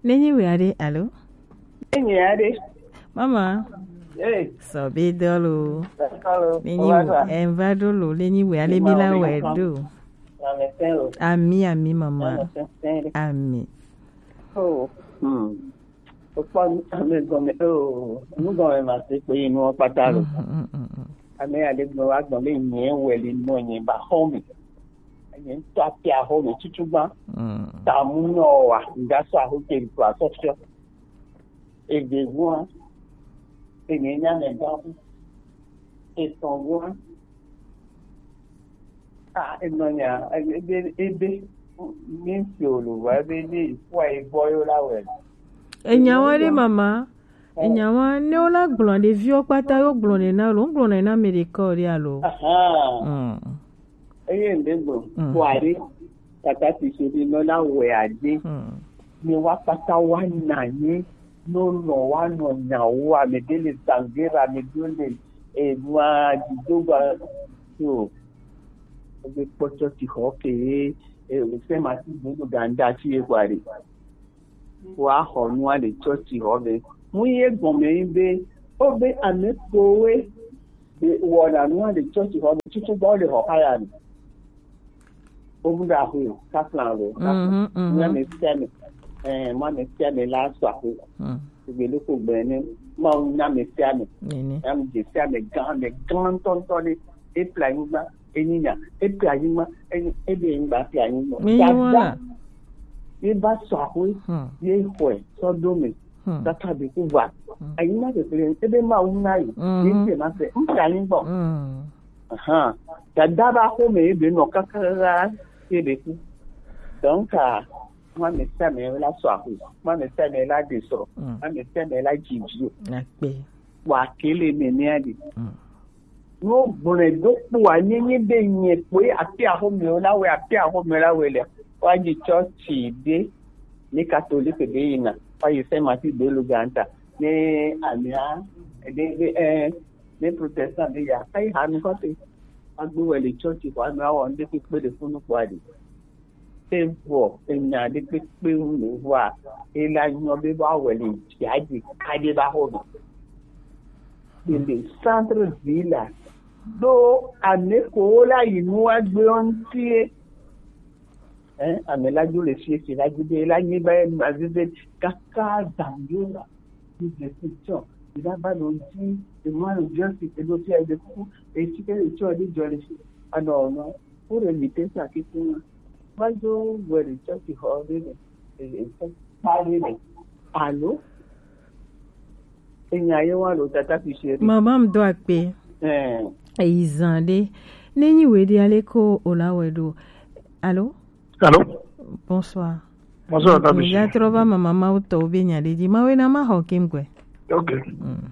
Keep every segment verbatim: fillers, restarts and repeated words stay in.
Nenyi we ade, alo? Nenyi ade. Mama. Hey. Sobe dolo. Dolo. Nenyi we, enva dolo, nenyi we ale mi la we do. Ami, ami, mama. Ami. Oh. Hmm. Okpɔ ame gɔme, oh, nu gɔme ma se kpe yi nuwo kpata lo. Mm, mm, mm, mm. Ame aɖe gblɔ wa gbɔn be nye wɛ li nɔ nye ba xɔ me. Nye ŋutɔ atia xɔ me tutu gba. Mm. Tamu nɔ wa, nga sɔ aho ke gba sɔ fiɔ. Eve gua, ene nya me gba. Etɔn gua, Ah, enɔnya, ebe, ebe, mi si o lo wa, ebe ne ifua ebɔ yo la wɛ. Enyawa ɖe mama, enyawa ne wo la gblɔ ɖeviwo kpata yo gblɔ ne na lo, gblɔ ne na me ɖe kɔ ɖe alo. Aha. Mm. Eye nde gblɔ, mm, kɔ aɖe, tata ti se ɖe nɔ la wɛ aɖe. Mm. Ne wa kpata wa na nyi, no nɔ wa nɔ nyawo, ame ɖe le zangera, ame ɖe le, e, nua, dzido gba, so. Ebe kpɔ tsɔtsi xɔ ke ye, e, o se ma ti gbogbo ganda tsi ye kɔ aɖe. Wa xɔ nua le tsɔtsi xɔ be. Mu ye gɔme yi be, o be ame kowe be wɔna nua le tsɔtsi xɔ me, tutu gbɔ le xɔ kaya me. O mu da xo, ka plan lo, ka plan. Mhm, mhm. Mu ame sia ame, eh, mu ame sia ame la sɔ axo. Mm. Gbe loko gbe ne, ma wu na ame sia ame. Nene. Ame sia ame gã, ame gã ŋutɔ ŋutɔ ɖe. Eple anyigba, enyinya, eple anyigba, enyi, ebe anyigba, eple anyigba. Mi yi wala. Dada, ye ba sɔ axoe, hmm, ye xɔe, sɔ ɖo me, hmm, kaka be ku va. Hmm. Anyigba kekle, ebe Mawu na yi, mhm, ye te ma se, eple anyigba. Hmm. Ahan. Dada ba xo me, ebe nɔ kaka, ye be ku. Donc, ah, ma me sia me la sɔ axoe, ma me sia me la de srɔ̃, hmm, ma me sia me la dzi vi o. Akpe. Wa kele me ne adi. Hmm. Wo gblɔe do kpo wa, nye, nye be nye kpoe afi axomewo la wɛ, afi axomewo la wɛ le. Wa dzi tsɔtsi ɖe, ne katolike ɖe yina, wa yi Saint Martin de Luganta, ne amia, ɖe, ɖe, eh, ne protestant ɖe ya, ayi ha nu kɔte. Agbe wɛ le tsɔtsi xɔ ame awɔ ŋɖe kpekpe ɖe funu kpɔ aɖe. Evɔ enya ɖe kpekpe ŋu le vɔa, ela nyɔ be va wɛ le dzia dzi kaɖe va xɔ me. Le centre ville la, ɖo ame ko wo la yi nu agbe ŋutie. Hein, ame la dzo le fie si la dzi be la nyi be ma vive kaka zangora. Ni de question. Ila ba no dzi, e mo no justice, e do fia de ku, e ti ke le cho de jole si. Ano no. Pour éviter ça, qui pour moi. Moi, je vois les gens qui ont des, des, des, parler, mais, allô? Enya ye wa lo tata fi se. Mama m do akpe. Eh. Eyi zan de. Nenyi we de ale ko ola we do. Allô? Allô? Bonsoir. Bonsoir, tata fi se. Ya trova mama ma uto be nya de di. Ma we na ma ho kim kwe. Ok. Mm.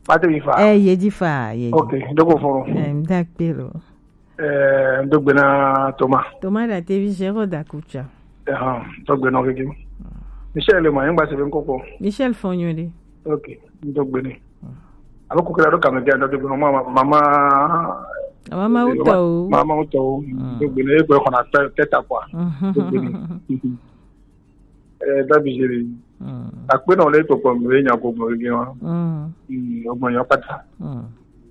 Pate mi fa. Eh, ye di fa, ye di. Ok, donc au fond. Eh, d'accord. Eh, donc maintenant, Thomas. Thomas da te vi zéro da kucha. Eh, donc maintenant, ok. Michel, le moyen, bah, c'est bien coco. Michel Fonyo de. Ok, donc maintenant. Alors, coco, la, donc, mama, mama, mama, uto. Mama, uto. Mm. Donc maintenant, on a tête à quoi. Donc maintenant. Eh, dabijeri. Mm. Akpe na ole to kpɔ mi nya ko gbɔ gege wa. Mm. Mm, o gbɔ nya pata. Mm.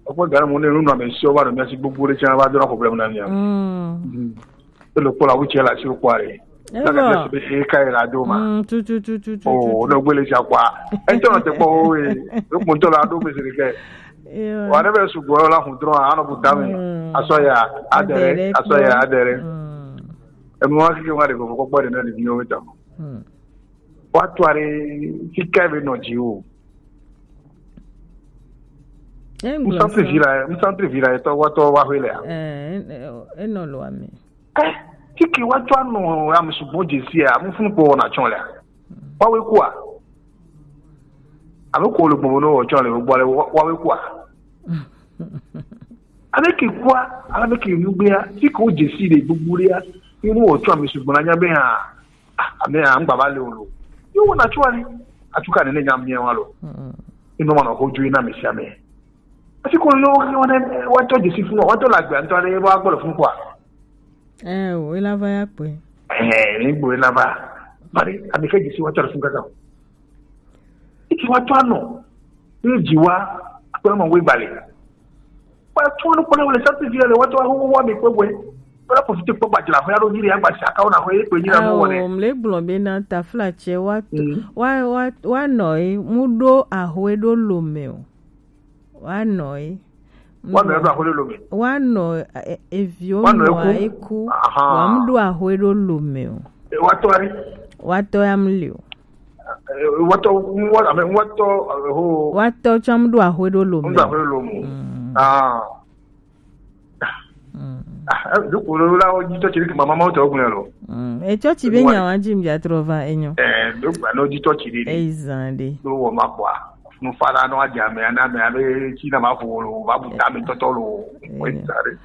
O gbɔ gara mo ne nu na me si o ba do mi asi gbogbo re cha ba do na problème na mi. Mm. Mm. E lo kpɔ la wuche la si o kwa re. E na ka bo. Se be e kai la do ma. Mm, tu, tu, tu, tu, tu, oh, tu, tu. No gbele cha kwa. E to na te kpɔ o e. O mo to la do me se ke. Ewa. Wa ne be su gbɔ la hun dro a no bu da mi. Mm. Aso ya, adere, adere, aso ya, adere. Mm. E mo wa ki wa de ko ko gbɔ de na ni mi o ta. Hmm. Wa to are ti ka be no ji o. Musa te vira, musa te vira to wa to wa hele a. Eh, eh, eh, no lo ami. Eh, ti ki wa to no am sugbon je si a, mu fun po na chon le a. Wa we ku a. Ami ko lo gbon no o chon le gbon le wa we ku a. Ami ki ku a, ami ki nu gbe a, ti ko je si le gbogbo le a. Inu o chon ami sugbon na nya be a. Ah, ame a ngba ba le o lo. Yo wo na chua ni. Atuka ne ne nya mi wa lo. Mm. Ino ma no hoju ina mi sia me. Ati ko yo wa ne wa to je si fun wa to la gbe an to le wa gbolo fun kwa. Eh, o ila va ya pe. Eh, ni gbo ila ba. Pare, ami ke dzi si wa tɔ ɖe fun kaka. Iti wa tɔ anɔ. Ni dzi wa akpɛ ma we gbale. Wa tɔ nu kpɔna wale sati vi le wa tɔ ho wa mi kpɛ we. Wa profite kpɔ gbadzra ho ya ɖo nyi ɖe agba si aka wo na ho ye kpɛ nyi na mo wɔ ne. Awo, mle gblɔ be na tafla tse wa to- Mm. wa wa wa nɔ ye mu ɖo aho ye ɖo lo me o. Wa nɔ ye. Wa nɔ ye ɖo aho ye ɖo lo me. Wa nɔ e- e- eviwo Wa nɔ nɔ eku. Eku. Aha. Wa mu ɖo aho ye ɖo lo me o. E, wa tɔ ari. Wa tɔ ya mu li o. E, wa tɔ, wa, ame, wa tɔ, e, ho. Wa tɔ tsam ɖo aho ye ɖo lo me. Mu ɖo aho ye ɖo lo me. Mm. Ah. Mm. Ah, eh, ɖo ko la wo dzi tɔ tsi ɖe ke mama ma wo tɔ gblẽ lo. Mm. E tsɔ tsi be nya wa dzi mi dza trɔ va enyo. Eh, ɖo gba no dzi tɔ tsi ɖe. Eyi zan ɖe. Ɖo wɔ ma kpɔa. Nu fa la no adze ame ana ame abe tsi na ma vo lo, va bu ta me tɔtɔ lo. Eyi zan ɖe.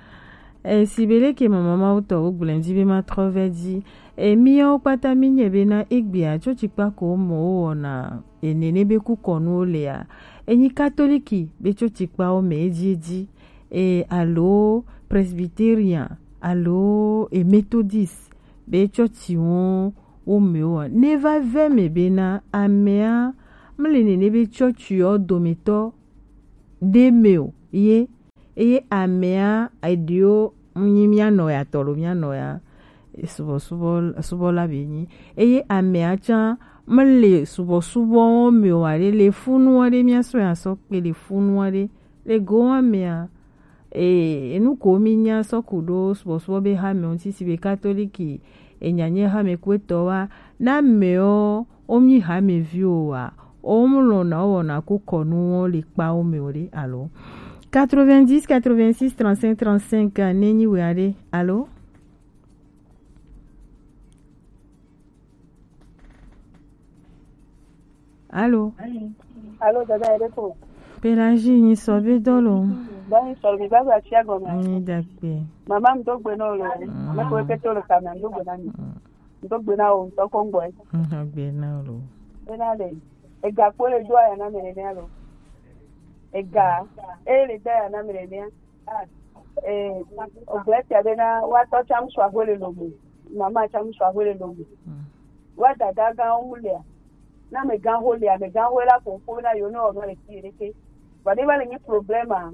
E si be leke mama ma wo tɔ wo gblẽ dzi be ma trɔ vɛ dzi. E miawo kpata mi nye be na egbea tsɔ tsi kpa ko mo wo wɔna. E nene be kukɔnuwo lea. Enyi katoliki be tsɔ tsi kpawo me edzi edzi. E, alo Presbyterian, alo e Methodist, be tsɔtsi wo wo me wa. Ne va ve me be na amea mle nene be tsɔtsi wo dometɔ ɖe me o ye, eye amea eɖewo nyi mía nɔ ya tɔ lo mía nɔ ya subɔsubɔ subɔla be nyi, eye amea tsã mele subɔsubɔ wo me o aɖe le funu aɖe mía sɔ ya sɔ kpe le funu aɖe. Le go wa mea, e, enu ko mi nya sɔ ku ɖo subɔsubɔ be hame ŋuti si be katoliki, e, nya nye hame kuetɔ wa, na mewo, o mi hame vi o wa, o mu lɔ na o wɔna ku kɔnu wo le kpa wo me o ɖe, alo. Quatre-vingt-dix, quatre-vingt-six, trente-cinq, trente-cinq, ne nyi we aɖe, alo? Alo. Alo, dada, ere ko. Pelagie, nyi sɔ be dɔ lo. Ba nyi sɔ be ba ba tia gɔme. Nyi dagbe. Mama, mi do gbe na wo lo. Mm. Me ko ke to lo ka me do gbe na mi. Mm. Mi do gbe na wo, to ko ngbo e. Mm, gbe na wo lo. E na le. E ga ko le do aya na me ne alo. E ga. E le da aya na me ne. Eh, ogbe tia be na wa tɔ tsam sɔ aho le lomo. Mama tsam sɔ aho le lomo. Mm. Wa dada gã wo mu lea. Na me gã ho lea, me gã ho la ko ko na yo no no le ti le ke. Ba de ba le ni problème a.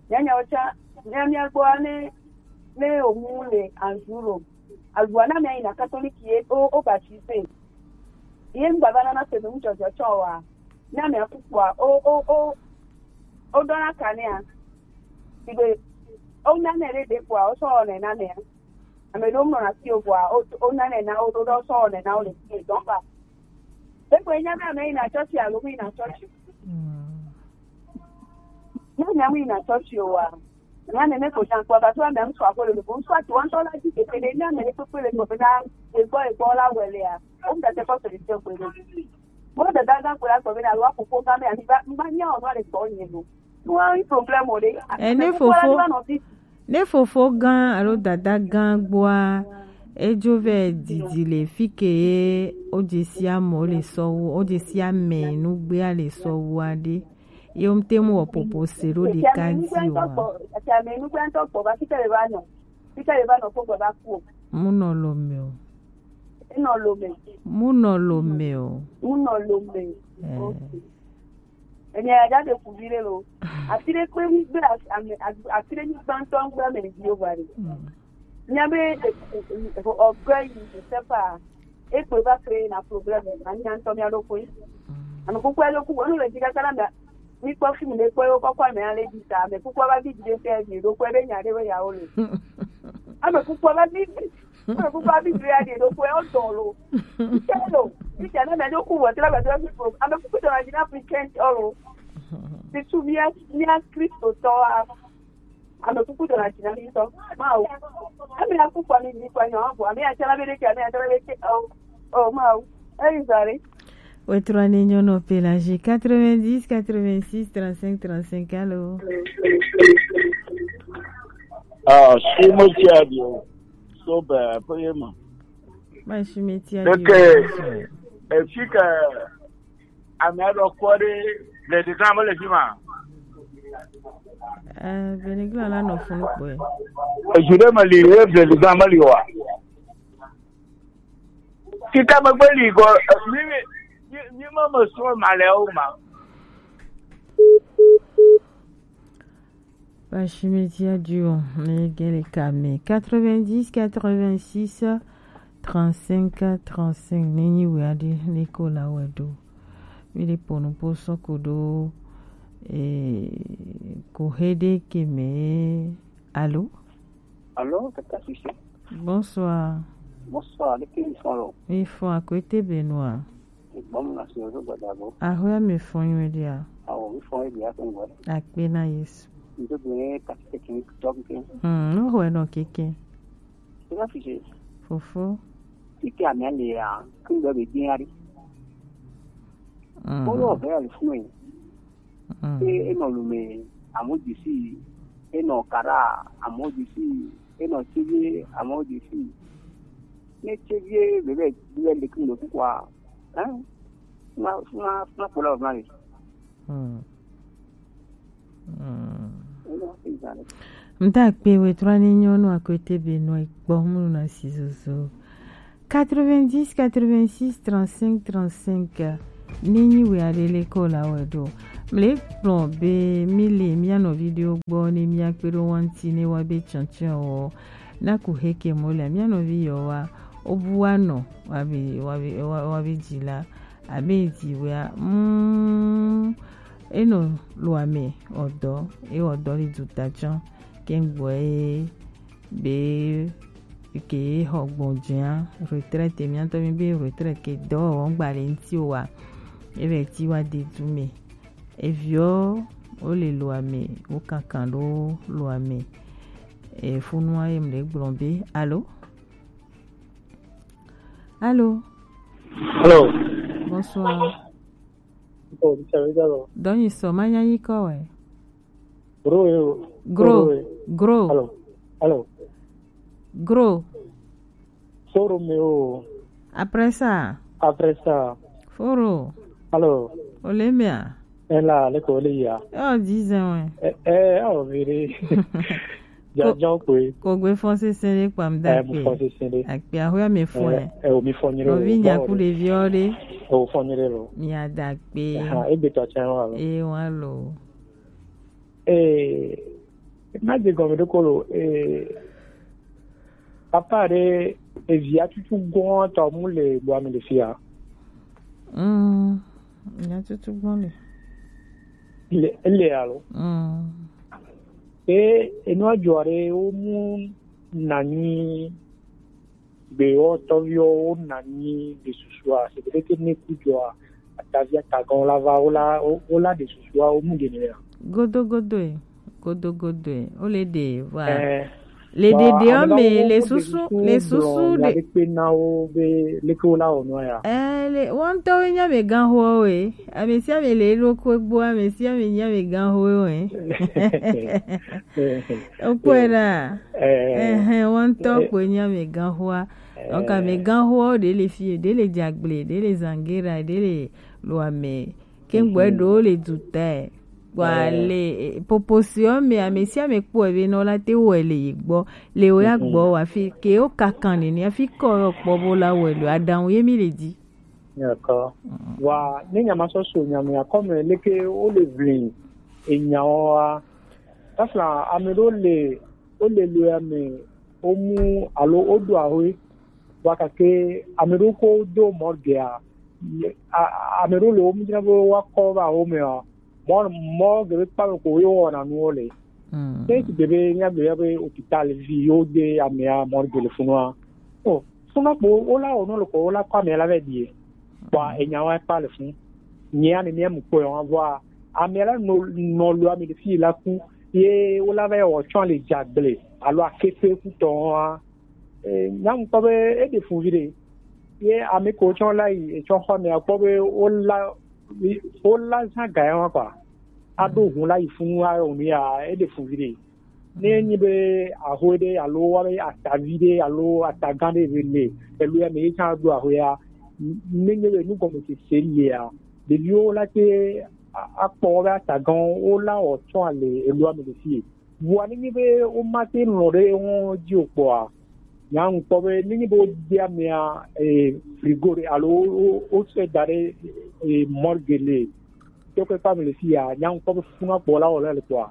Nya nya o tsã, nya nya gbo ane ne o mu le anzuro. Alua na me ina catholic ye o o baptisé. Ye ngba ba na na se no mu jojo tsɔ wa. Na me akukua o o o o dona kanea. Igbe, o nane ɖe ɖe kpɔa, o sɔ wɔnɛ nane ya. Ame ɖewo mlɔ na fi o kpɔa, o o nane na o ɖo ɖe o sɔ wɔnɛ na o le fi dɔn ba. Ekpe nya be ame yina tsɔtsi alo mi yina tsɔtsi. Mm. Ne ame yina tsɔtsi o wa, na nene ko nya kpɔ ba to ame ŋutsu aƒe le ko ŋutsu ati wɔntɔ la dzi keke ɖe ne ame ɖe kpekpe le gbɔ be na egbɔ egbɔ la wɔ le ya. O mu tete kɔ solution kpe ɖe. Mo dada gã kpe la gbɔ be na lo akoko gã be ami ba mi ba nya o no le gbɔ nye lo. Wa yi problème o ɖe. E, ne fofo, ne fofo gã alo dada gã gbɔa, edzo vɛ didi le fi ke ye o dze si ame le sɔwu, o dze si ame nugbea le sɔwu aɖe. Ye wo te mu wɔ popo se ɖo ɖeka dzi o ma. Ame nugbea ŋutɔ gbɔ va fi ke le va nɔ. Fi ke le va nɔ ko gbɔ va ku o. Mu nɔ lo me o. Enɔ lo me. Mu nɔ lo me o. Mu nɔ lo me. Eh. Ok. Enya ya de kuvi ɖe lo. Afi ɖe kpe mi gbe as- ame as- afi ɖe mi gbãtɔ gbe ame ɖeviwo va ɖe. Mm. Nya be e- e- e- e- ɔgbe yi esefa ekpe va kpe na problème na nya ŋutɔ mia ɖo koe. Mm. Ame kuku ya ɖo ku wonu le dzi kaka na mia mi kpɔ film ɖe kpɔ yewo kɔkɔ ame ale dzi ta ame kuku va vi dzi ɖe fia vi ɖo kpɔ ebe nya ɖe be ya wo le. Ame kuku va vi Ame kuku abi dre ya de ɖo kɔe o dɔn lo. Ite lo. Ite ne me ɖo ku wɔ tra ba do fi pro. Ame kuku dɔn adi na African ɔlo. Ti su mia mia Kristo tɔ a. Ame kuku dɔn adi na mi tɔ. Ma o. Ame ya kuku ami ni kwa nyo abo. Ame ya tara be de ke ame ya tara be ke o. O ma o. Eri zare. Wetrɔ ne nyɔnɔ Pelagie quatre-vingt-dix quatre-vingt-six trente-cinq trente-cinq, allô. Ah, si mo ti a di o. So ba pe ma. Ma si me ti a di. Ke e fi ke ame aɖe kɔ ɖe Bledigã me le fi ma. Eh, Bledigã la nɔ funu kpɔe. Ezu ɖe me li ye Bledigã me li wa. Kita me gbe li go, eh, mi, mi, mi, mi ma me sɔ ma le o ma. Pashimeti adio, ne gele kame quatre-vingt-dix, quatre-vingt-six, trente-cinq, trente-cinq, ne nyi we ade, ne ko la we do. Mi le ponu po so ko do, eh, ko hede ke me, allô? Allô, Tata Fifi. Bonsoir. Bonsoir, de qui ils sont là? Ils font à côté Benoît. Bon, merci, je vois d'abord. Ah oui, mais font une idée. Ah oui, font une idée, c'est vrai. Akpe na Yesu. Nous devons passer technique, donc, hmm, no, ouais, non, kéké. Tata Fifi. Fofo. Qui qui a mis les, ah, qui doit bien aller? Hmm. Pour le faire, le fou, hein. Mm. E, enɔ Lome, amewo dze sii. Enɔ Kara, amewo dze sii. Enɔ Tsevie, amewo dze sii. Ne Tsevie bebe le le kin do kukua, hein? Funa, funa, funa kpola o funa le. Mm. Mm. Enɔ, enɔ. Mda kpe we trɔ ni nyɔnu akwete be nɔ ikpɔ munu na si zozo. Quatre-vingt-dix, quatre-vingt-six, trente-cinq, trente-cinq. Ne nyi we aɖe le ko la wɛ ɖo. Mle kplɔ be mi le mia nɔvi ɖewo gbɔ ne mia kpe ɖo wa ŋuti ne wa be tsɔtsɔ wɔ. Na ku heke mo le mia nɔvi yɔ wa. O bu wa nɔ wa be, wa be, wa, wa be dzi la. Abe dzi wea, mm, enɔ lo ame ɔdɔ, e ɔdɔ le du ta tsɔ. Ke gbɔ e be ke xɔ gbɔnjɛa, retraite, mía ŋutɔ mí be retraite ke dɔwɔwɔ ŋgba le ŋuti o wa, e vɛ ti wa de du me. Eviɔ wo le loa me, wo kankan ɖo loa me. E funua ye mle gblɔ be, allô? Allô? Allô? Bonsoir. Oh, mi sɛ mi dalo. Dɔnyi sɔ ma nya yi kɔ wɛ. Gro yo. Gro. Gro yo. Gro. Allô. Allô. Gro. Foro me o. Après ça. Après ça. Foro. Allô. Olemia. Ela le ko le ya. Oh, dix ans, ouais. Eh, eh, oh, véré. Jajan kwe. Ko gbe fɔn sese ɖe kpam da. Eh, mu kpe. Fɔn sese ɖe. Akpe ahoya me fɔn. Eh, eh, o mi fɔn nyere. Ovi nya ku ɖeviɔ ɖe. Eh, o fɔn nyere lo. Mi ada kpe. Ha, e gbe tɔ tsa wa lo. E wa lo. Eh, ma de gɔme ɖe ko lo. Eh, papa ɖe, evia tutu gɔn tɔ mu le gbɔ ame le fia. Mm, nya tutu gɔn le. Le, le alo. Mm. E, enua jɔ ɖe wo mu nanyi be wo tɔviwo wo nanyi de susua, se be ke ne ku jɔ a, atavi atagɔn la va wo la, wo, wo la de susua, wo mu de ne ya. Godo godo e, godo godo e, wo le de wa. Eh. Le dede o me, le susu, le susu de. Pe na wo be leke wo la wɔ nua ya. Eh, le, wo ŋutɔ wo nya me gan ho we. Ame sia ame le ɖo ko gbɔ, ame sia ame nya me gan ho we. Okpɔe ɖa. Eh. Ehɛn, wo ŋutɔ kpɔe nya me gan hoa. Donc, ame gan hoa ɖe le fie, ɖe le Dzagble, ɖe le Zangera, ɖe le Loame. Ke ŋgbɔ ɖewo le du tɛ. Kpɔ ale, eh, popo siɔ me, ame sia ame kpɔe be nɔ la te wɔe le ye gbɔ. Le wo ya gbɔ wa fi ke wo kakan nene, afi kɔ yɔ kpɔ bo la wɔe le aɖaŋu ye mi le di. D'accord. Wa, ne nya ma sɔ so nya me akɔ me leke wo le vli enya wa. Tafla ame ɖewo le, wo le lo ya me, wo mu alo wo do ahoe. Wa kake ame ɖewo ko do mɔ gea, a, a, ame ɖewo le wo mu dzra be wa kɔ va wo me a, mɔ, mɔ gebe kpa me ko yo wɔna nuwo le. Mm. Ne sigbe be mía gbe be hôpital vi yo de amea mɔ gele funua. O, funa kpo wo la wo no le ko wo la kɔ amea la vɛ die. Bua enya wa kpa le fun. Nyea ne mía mu kpɔe wa vɔa, amea la nɔ, nɔ lo ame ɖe fi la ku. Ye wo la vɛ wɔ tsɔ le Dzagble alo Akete ku tɔ wa. Eh, nya ŋkpɔ be eɖe fu vi ɖe. Ye ame ko tsɔ la yi, etsɔ xɔ mea kpɔ be wo la, wo la zã ga ya wa kpa. Aɖo hun la yi funu wa onu ya, eɖe fu vi ɖe. Ne enyi be ahoe ɖe alo wa be atavi ɖe alo atagã ɖe be le, elo ya me ye tsã ɖo ahoe ya, ne nye be nugɔmesese lia, ɖeviwo la te a-, akpɔ be atagãwo, wo la wɔ tsɔ ale eloa me le fie. Vɔa ne nye be wo ma te lɔ̃ ɖe wo dzi o kpɔa, Nya ŋkpɔ be nenye be wode amea, eh, frigo ɖe alo wo- wo- wosɔe da ɖe, eh, morgue le tɔkɔe kpa me le fi ya, nya ŋkpɔ be funa kpɔ la wòle le kpɔa.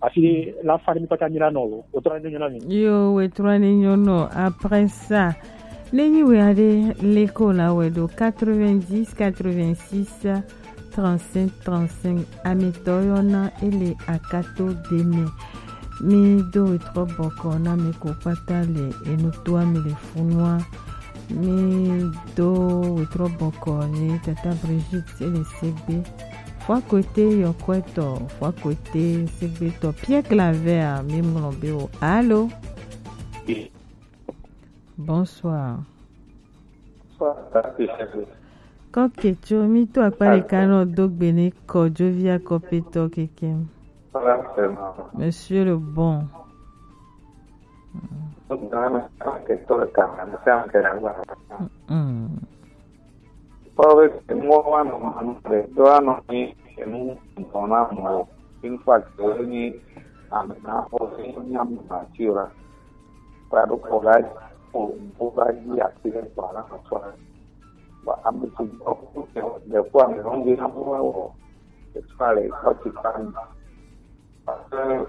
Asi la fa ɖe mi kpata mi la nɔ lo. Wòtrɔ ne nyɔ na mi. Yo, wòtrɔ ne nyɔ nɔ. Après ça, nenye wea ɖe leko la wɛ ɖo quatre-vingt-dix, quatre-vingt-six, trente-cinq, trente-cinq. Amitɔ yɔna ele akato de me. Mi do wetrɔ bɔkɔ na mi ko kpata le enutoa mi le funua. Mi do wetrɔ bɔkɔ ne tata Brigitte ele segbe. Fua kote yɔkwɛtɔ, fua kote segbetɔ. Pierre Claver, mi ŋlɔ be o. Allô? Bonsoir. Kɔketso, mi to akpa ɖeka nɔ do gbe ne kɔdzovi akɔpetɔ keke. Monsieur le bon. Mm. Kpɔ be nuwo woanɔ manu ɖe do anɔ nyi enu dɔ na mɔ. In fact, wòle nyi ame na xɔ nya mature. Kpa ɖo kɔ la ko ko la yi ati ɖe kpa la kɔ tsɔ. Ba ame sugbɔ ko ke ɖe ko ame lɔ nyi na mɔ wɔ. Etsɔ le kɔ tsi kpa mi. Parce que